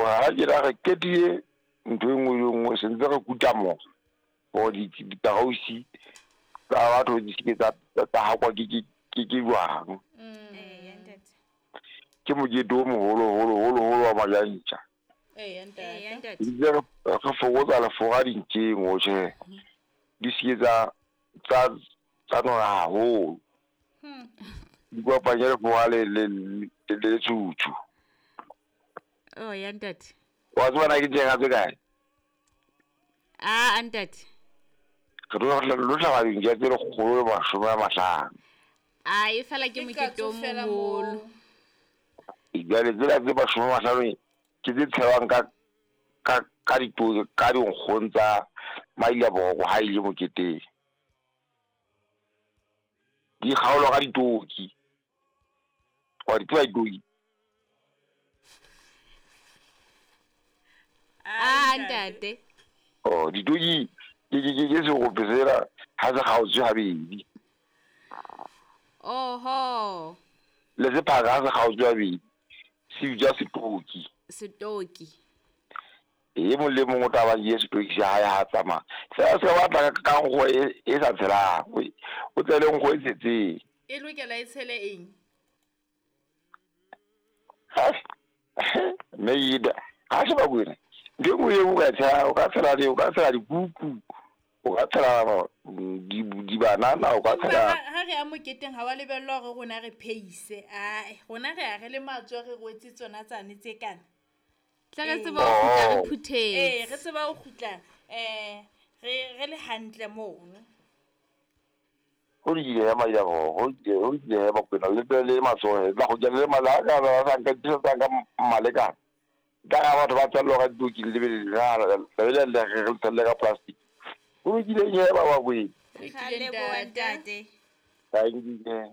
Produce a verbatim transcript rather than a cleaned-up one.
Ha ke ra re qetile ntho e nngwe le e nngwe, se ntse re kuta mo hore dikarausi tsa batho di seke tsa tsa hakwa ke ke ke ke jwang. Eya ntate. Ke mokete o moholo holo holo holo wa majantja. Eya Eya ntate. ntate. Ntse re re fokotsa lefora dintjeng ho tjhe. Di seke tsa tsa tsa nona haholo. Di kopanye lefora le le le le letsutsu. Oh ya ntate. Wa tseba na ke tjeka tse kae? Ah a ntate. Re tlo lo hlaba dintja tse lekgolo le mashome a mahlano. A e fela ke Ke mokete o katso fela moholo. moo. Jwale tsena tse mashome a mahlano ke tse tshelwang ka ka ka dito ka dinkgong tsa Mailaboroko ha ile moketeng. Di kgaolwa ka ditoki. Wa di tseba ditoki? Ah ntate. Oh, ditoki ke ke ke ke serope sena ha se kgaotswe habedi. Oho. Le sephaka ha se kgaotswe habedi se bitswa setoki. Setoki. E mong le mong o tla ba nkile setoki sa hae ha tsamaya. Sena se batla ka nkgo e e sa tshelang, o tle le nkgo e tshetseng. E lokela e tshele eng? Mme Ida, ha se Bakwena. Ntho e nngwe eo o ka tshela, o ka tshela o ka tshela dikuku, o ka tshela di dibanana, o ka Empa tshela ha ha re ya moketeng ha wa lebellwa hore rona re phehise. Ae, rona re ya re le matsoho re rwetse tsona tsane tse kana. Tle re Ee. tsebe ho kgutla re Oh. Ee, phuthetse. re tseba ho kgutla eh re re le hantle mono. Ho lokile ya Mailaboroko, ho lokile ho lokile he Bakwena le tle le matsoho he. Tla kgutla le mala ha ka ba sa nka tlisetsa ka malekane. Ka ha batho ba tswella ka ditoki le be le le le le re tshelle ka plastic. Ho lokile he ba Bakwena. Re Ra lokile leboha ntate. ntate. Thank you.